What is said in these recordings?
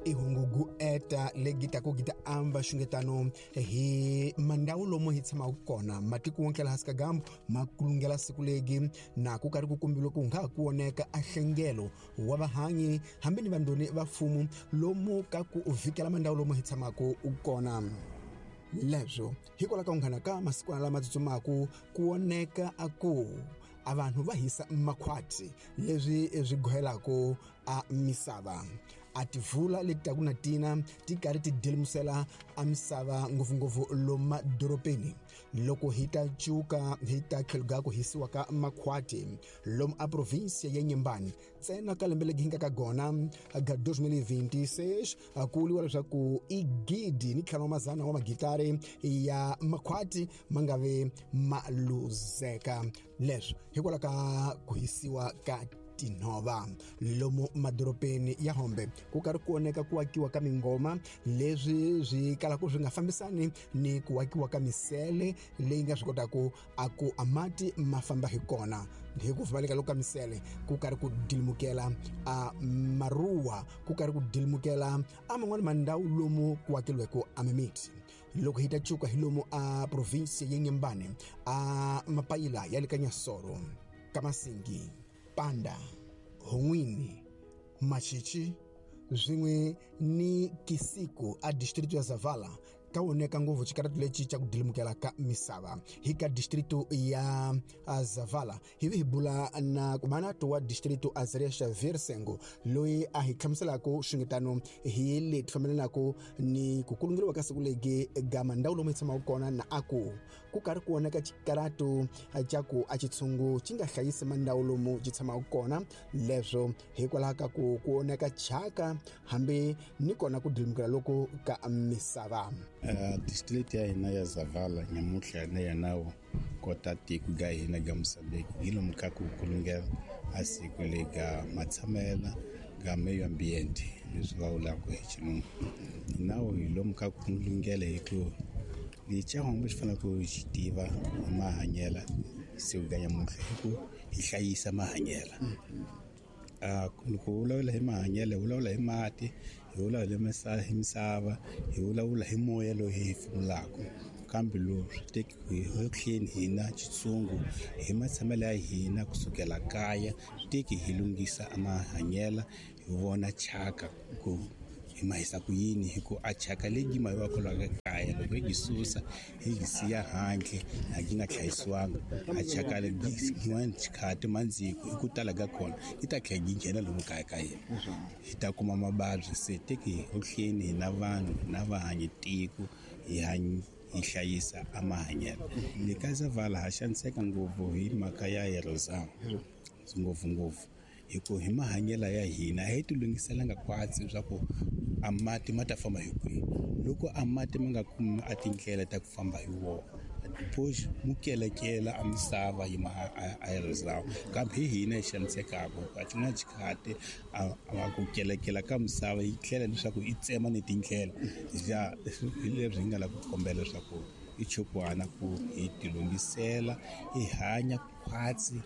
I hungugu eta legi taku gi ta amba xungetano hi mandhawu lomu hi tshamaka kona matiko wonke laha hansi ka gambu ma kulungela siku legi na ku karhi ku kombiwa ku nga ha ku voneka a hlengelo wa vahanyi hambi ni vandoni va mfumo lomu ka ku vhikela mandhawu lomu hi tshamaka kona. Leswo hikwalaho ka unghana ka masikwana lama tsutsumaku ku voneka a ku a vanhu va hisa makhwati leswi swi gohelaka a misava. A tivula leti taku na tina ti karhi ti delimusela a misava ngopfungopfu lomu madorobeni. Loko hi ta cuka hi ta tlheluka ku hisiwa ka makhwati lomu a provinsia ya Inhambane ntsena ka lembe legi hi nga ka gona ga 2026 ku vuriwa leswaku i 1500 wa magitari ya makhwati ma nga ve ma luzeka. Leswo hikwalaho ka ku hisiwa ka tinhova lomu madorobeni ya Hombe ku karhi ku oneka ku akiwa ka mingoma leswi swi kalaka swi nga fambisani ni ku akiwa ka misele leyi nga swi kotaka a ku a mati ma famba hi kona. Hi ku pfumaleka loko ka misele ku karhi ku dilimukela a maruwa ku karhi ku dilimukela a man'wani mandhawu lomu ku akeriweke a mimiti. Loko hi ta cuka hi lomu a province ya Inhambane a mapayila ya le ka Nyasoro, Kamasingi, Panda, Hon'wini, Machichi swin'we ni Kisiku a district ya Zavala ka voneka ngopfu xikaratu lexi xa ku dilimukela ka misava. Hi ka district ya Zavala hi vi hi bula na kumanato wa district Azaria Xavier Sengo loyi a hi hlamuselaka xungetano hi leti fambelanaka ni ku kulungeriwa ka siku legi ga mandhawu lomu hi tshamaka kona na a ku ku karhi ku voneka xikaratu xa ku a xitshungu xi nga hlayisi mandhawu lomu xi tshamaka kona. Leswo hikwalaho ka ku ku oneka chaka hambi ni kona ku dilimukela loko ka misava. District ya hina ya Zavala nyamutlha na yena kota tiko ga hina ga Mozambique hi lomu ka ku kulungela a siku le ga matshamela ga meio ambiente leswi va vulaka hi xilungu. Nawu hi lomu ka ku kulungela hi ku lexi hombe xi faneleke ku xi tiva hi mahanyela siku ga nyamutlha hi ku hi hlayisa mahanyela. Loko u vulavula hi mahanyelo hi vulavula hi mati, hi vulavula hi misava, hi vulavula hi moya lowu hi hefemulaka. Kambe lowu swi teki hi tlheni hina xitshungu hi matshamelo ya hina kusukela kaya swi teki hi lunghisa mahanyela hi vona chaka ku hi ma hisa ku yini hi ku a chaka leyi ma yiwaka laha kaya loko hi yi susa hi yi siya handle a yi nga hlayisiwanga a chaka leyi xikhati mandziko hi ku tala ka kona yi ta tlhela yi nghena lomu kaya ka hina hi ta kuma mavabyi. Se teki hi hleni hina vanhu na vahanyi tiko hi hi hlayisa a mahanyelo. Le ka Zavala ha xaniseka ngopfu hi mhaka ya erosão ngopfungopfu hi ku hi mahanyelo ya hina a hi ti lunghiselanga khwatsi leswaku a mati ma ta famba hi kwihi. Loko a mati ma nga kumi a tindlela ta ku famba hi wona depois mu kelekela a misava yi ma a erosão kambe hi hina hi xanisekaka a xin'wana xikhati a ku kelekela ka misava yi tlhela leswaku yi tsema ni tindlela ja hi leswi hi nga lava ku kombela leswaku i chukwana ku hi ti lunghisela hi hanya khwatsi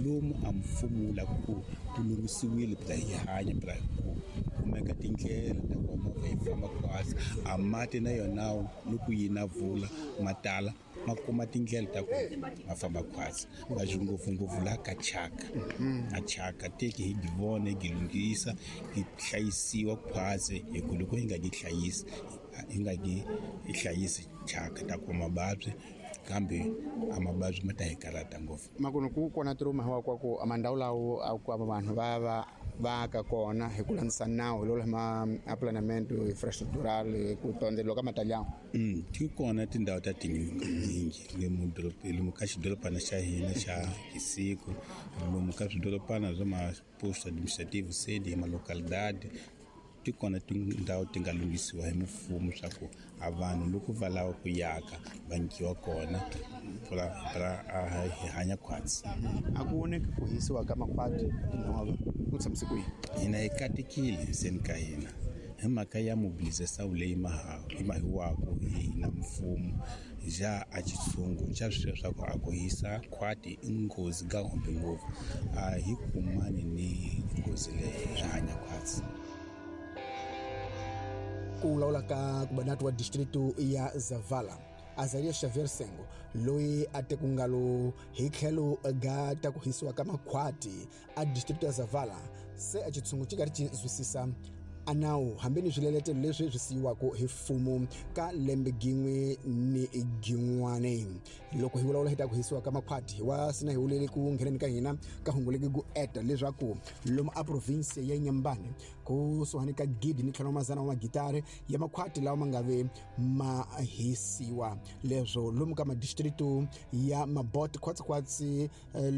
lomu a mfumo wu lava ku ku lunghisiwile phela hi hanya phela ku kumeka tindlela ta ku movha yi famba khwatsi a mati na yona loko yi na vula ma tala ma kuma tindlela ta ku ma famba khwatsi. Kasi ngopfungopfu laha ka chaka a chaka teki hi gi vona hi gi lunghisa hi hlayisiwa khwatsi hi ku loko hi nga gi hlayisi hi nga gi hlayisi chaka ta kuma mavabyi kambe a mavabyi ma ta hi karhata ngopfu. Makuno ku kona tiruma hi wa ku mandhawu lawo a ku vanhu va va va ka kona hi ku landzisa nawu lowu ma planeamento infrastructural ku tondzeliwa ka matalyango. Ti kona tindhawu ta tinyingi lomu lomu ka xidorobana xa hina xa Kisiku lomu ka swidorobana swa ma posto administrativo sede ma localidade ti kona tindhawu ti nga lunghisiwa hi mfumo swa ku a vanhu loko va lava ku yaka va nyikiwa kona ra hi hanya khwatsi. A ku voneki ku hisiwa ka makhwati tinhova ku tshamise ku yini? Hina hi katekile ndzeni ka hina hi mhaka ya mobilização leyi mahiwaka hi hina mfumo ja a xitshungu xa swi swa ku a ku hisa khwati i nghozi ga hombe ngopfu a hi kumani ni nghozi leyi swi hanya khwatsi. Ku vulavula ka kubanati wa distritu ya Zavala Azaria Xavier Sengo, loyi a te ku ngalo hi tlhelo ga ta ku hisiwa ka makhwati a distritu ya Zavala, se a xitshungu xi karhi xi zwisisa a nawu hambi ni swileletelo leswi swi siyiwaka hi mfumo ka lembe gin'we ni gin'wane. Loko hi vulavula hi ta ku hisiwa ka makhwati, hi wa sina hi wulele ku ngheneni ka hina ka hunguleke ku eta leswaku lomu a province ya Inhambane kusuhani ka 1500 wa magitari ya makhwati lawa ma nga ve ma hisiwa. Leswo lomu ka madistritu ya Mabot khwatsikhwatsi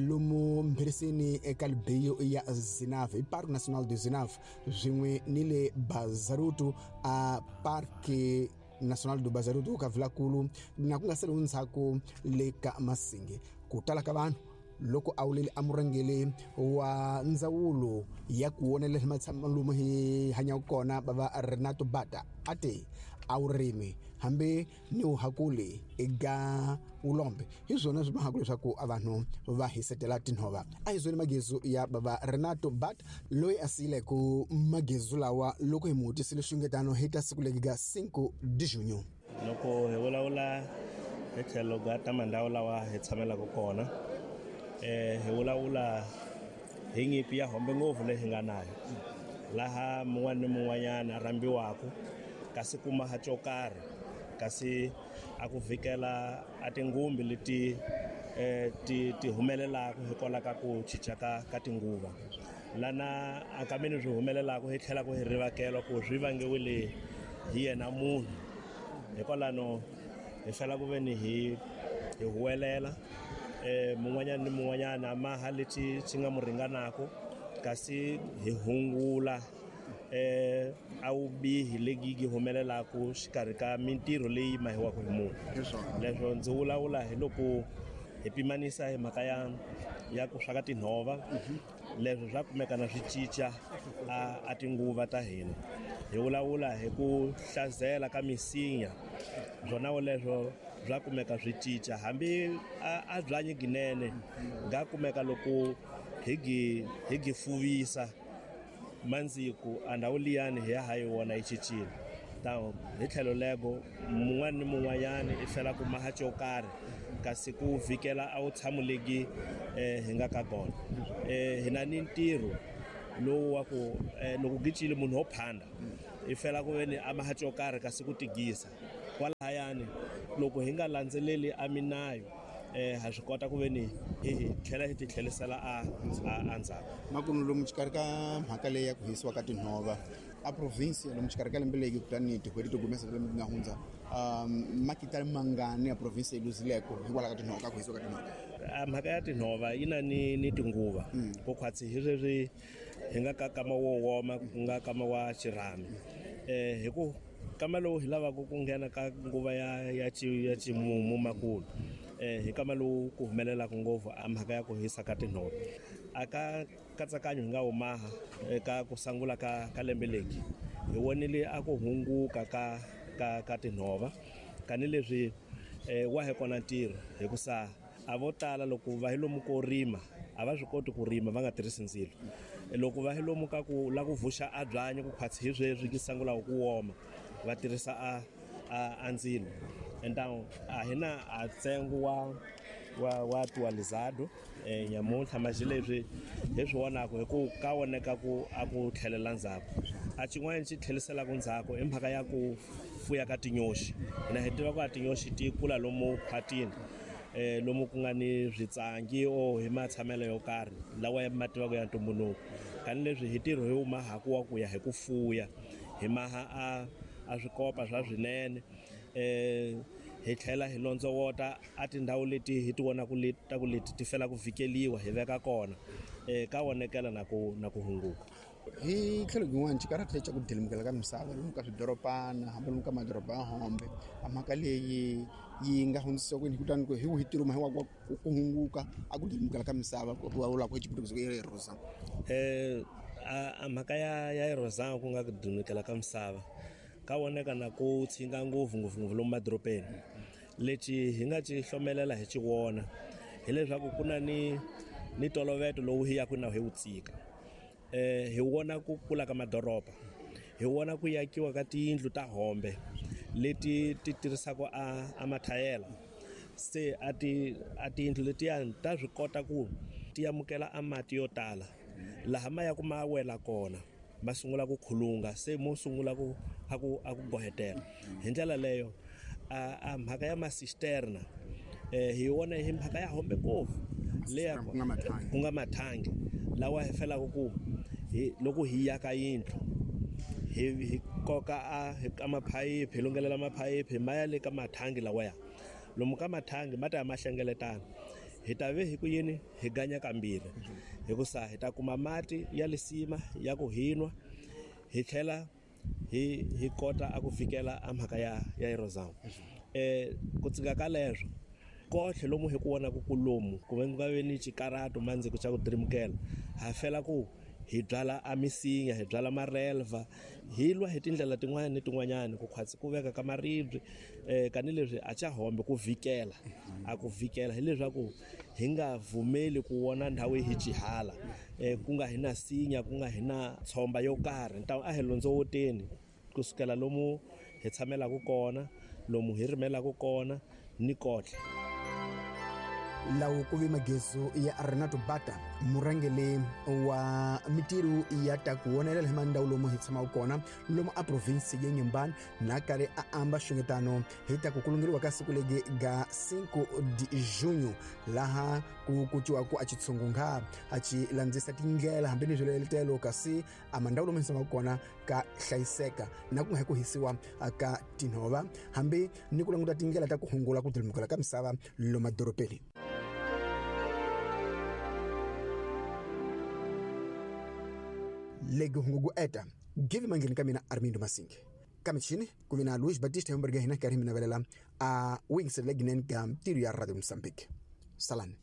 lomu Mphirisini eka Libeyo ya Zinave i Parc National de Zinave, swin'we ni le Bazaruto a Parque National do Bazaruto ka Vilakulu, na ku nga sali ndzhaku le ka Masinge. Ku tala ka vanhu loko a wulele a murhangeri wa ndzawulo ya ku wonelela matshamo lomu hi hanyaka kona bava Renato Bata a te a wu rimi hambi ni wu hakuli eka vulombe, hi swona swi mahaka leswaku a vanhu va hisetela tinhova. A hi zwoni magezu ya bava Renato Bata loyi a siyileke magezu lawa loko hi mu vutisile xungetano hi ta siku legi ga 5 de junho. Loko hi vulavula hi tlhelo ga ta mandhawu lawa hi tshamelaka kona, hi vulavula hi nyimpi ya hombe ngopfu leyi hi nga nayo, laha mun'wana ni mun'wanyana a rhambiwaka kasi kuma ha xo karhi, kasi a ku vhikela a tingumbi leti ti humelelaka hikwalaho ka ku cinca ka tinguva. Lana a kameni swi humelelaka hi tlhela ku hi rivakela ku swi vangiwile hi yena munhu. Hikwalano hi fela ku ve ni hi huwelela mun'wanyana ni mun'wanyana maha lexi xi nga mu ringanaka, kasi hi hungula a vubihi legi yi humelelaka xikarhi ka mintirho leyi mahiwaka hi munhu. Leswo ndzi vulavula hi loko hi pimanisa hi mhaka ya ku swa ka tinhova, leswo swa kumeka na swi cinca a tinguva ta hina. Hi vulavula hi ku hlazela ka misinya, swona leswo bya kumeka swi cinca hambi a byanyi ginene ga kumeka loko hi gi fuvisa mandziku a ndhawu liyani hi ya ha yi vona yi cincile. Ta hi tlhelo lego mun'wana ni mun'wanyana i fela ku maha xo karhi, kasi ku vhikela a wu tshamuleki hi nga ka kona. Hi na ni ntirho lowu wa ku loko gicile munhu wo phanda i fela ku ve ni a maha xo karhi kasi ku tigisa kwalahayani. Loko hi nga landzeleli a minayo ha swi kota ku ve ni hi tlhela hi ti tlhelisela a ndzhaku. Makumu lomu xikarhi ka mhaka leyi ya ku hisiwa ka tinhova a province lomu xikarhi ka lembe leyi kutani tin'hweti to gumesa lembe nga hundza, makitari mangani ya province yi luzileko hikwalaho ka tinhova, ka ku hisiwa ka tinhova? Mhaka ya tinhova yi na ni tinguva ku khwatsi hi sweswi hi nga ka kama wo woma ku nga kama wa xirhami. Hi ku kama lowu hi lavaka ku nghena ka nguva ya ximumu makulu, hi kama lowu ku humelelaka ngopfu a mhaka ya ku hisa ka tinhova. A ka katsakanyo hi nga wu maha eka ku sangula ka lembe leki, hi vonile a ku hunguka ka tinhova, tanihileswi wa hi kona ntirho hikusa a vo tala loko va hi lomu ko rima a va swi koti ku rima va nga tirhisi ndzilo. Loko va hi lomu ka ku la ku vuxa a byanyi ku khwatsi hi sweswi ki sangulaka ku woma, va tirhisa a ndzilo. Então a hi na a ntsengo wa actualizado nyamuntlha maxi leswi hi swi vonaka hi ku ka voneka ku a ku tlhelela ndzhaku. A xin'wana xi tlheliselaka ndzhaku i mhaka ya ku fuya ka tinyoxi. Hina hi tiva ku a tinyoxi ti kula lomu khwatini, lomu ku nga ni switsangi o hi matshamelo yo karhi lawa ya ma tivaka ya ntumbuluko. Tanihileswi hi ntirho hi wu mahaku wa ku ya hi ku fuya, hi maha a swikopa swa swinene, hi tlhela hi londzovota a tindhawu leti hi ti vonaka ta ku leti ti fela ku vhikeliwa hi veka kona, ka vonekela na ku hunguka. Hi tlhelo rin'wana xikarhati xa ku dilimukela ka misava lomu ka swidoropana hambi lomu ka madoroba ya hombe, a mhaka leyi yi nga hundzisiwa kwini kutani ku hi wihi ntirho hi wa ku hunguka a ku dilimukela ka misava ku vulavulaka hi xiputukezi ku erosa? A mhaka ya erosa ku nga ku dilimukela ka misava ka voneka na ku tshinga ngopfu ngopfu ngopfu lomu madorobeni. Lexi hi nga xi hlomelela hi xi vona hileswaku ku na ni toloveto lowu hi yaka na hi wu tsika. Hi vona ku kula ka madoroba, Hi vona ku yakiwa ka tiyindlu ta hombe leti ti tirhisaka a mathayela. Se a ti a tiyindlu letiyani ta swi kota ku ti amukela a mati yo tala, laha ma ya ku ma wela kona ma sungula ku khulunga, se mo sungula ku a ku a ku gohetela. Hi ndlela leyo a mhaka ya masisterna hi wona hi mhaka ya hombe ngopfu leya ku nga mathangi lawa hi felaka ku hi loko hi yaka yindlu hi koka a ka maphayiphi, hi lunghelela maphayiphi ma ya le ka mathangi lawaya. Lomu ka mathangi ma ta ya ma hlengeletana, hi ta ve hi ku yini hi ganya kambirhi, hikusa hi ta kuma mati ya lisima ya ku hinwa, hi tlhela hi kota a ku fikela a mhaka ya erosion. Ku tsika ka leswo kotlhe lomu hi ku vonaka ku lomu ku nga ve ni xikarato mandziko xa ku dirimukela, ha fela ku hi byala a misinya, hi byala marelva, hi lwa hi tindlela tin'wana ni tin'wanyana ku khwatsi ku veka ka maribye. Kanileswi a xa hombe ku vikela, a ku vikela hileswaku hi nga vumeli ku vona ndhawu hi xihala, ku nga hi na sinya, ku nga hi na tshomba yo karhi. Ntamu a hi londzowoteni kusukela lomu hi tshamelaka kona, lomu hi rimelaka kona ni kotlhe. Lawo ku ve magezu ya Renato Bata, murhangeri wa mitirho ya ta ku vonelela hi mandhawu lomu hi tshamaka kona lomu a province ya Inhambane, na karhi a amba xungetano hi ta ku kulungeriwa ka siku legi ga 5 de junho, laha ku kuciwa ku a xitshungu a xi landzisa tindlela hambi ni swiletelo, kasi a mandhawu lomu hi tshamaka kona ka hlayiseka na ku nga hi ku hisiwa ka tinhova, hambi ni ku languta tindlela ta ku hungula ku dilimukela ka misava lomu madorobeni. Legi hungu ku eta give mandleni ka mina Armindo Masingi, ka michini ku vi na Luis Batista yomberga hina karhi mi navelela a wingisela leginene ka ntirho ya Radio Mozambique. Salani.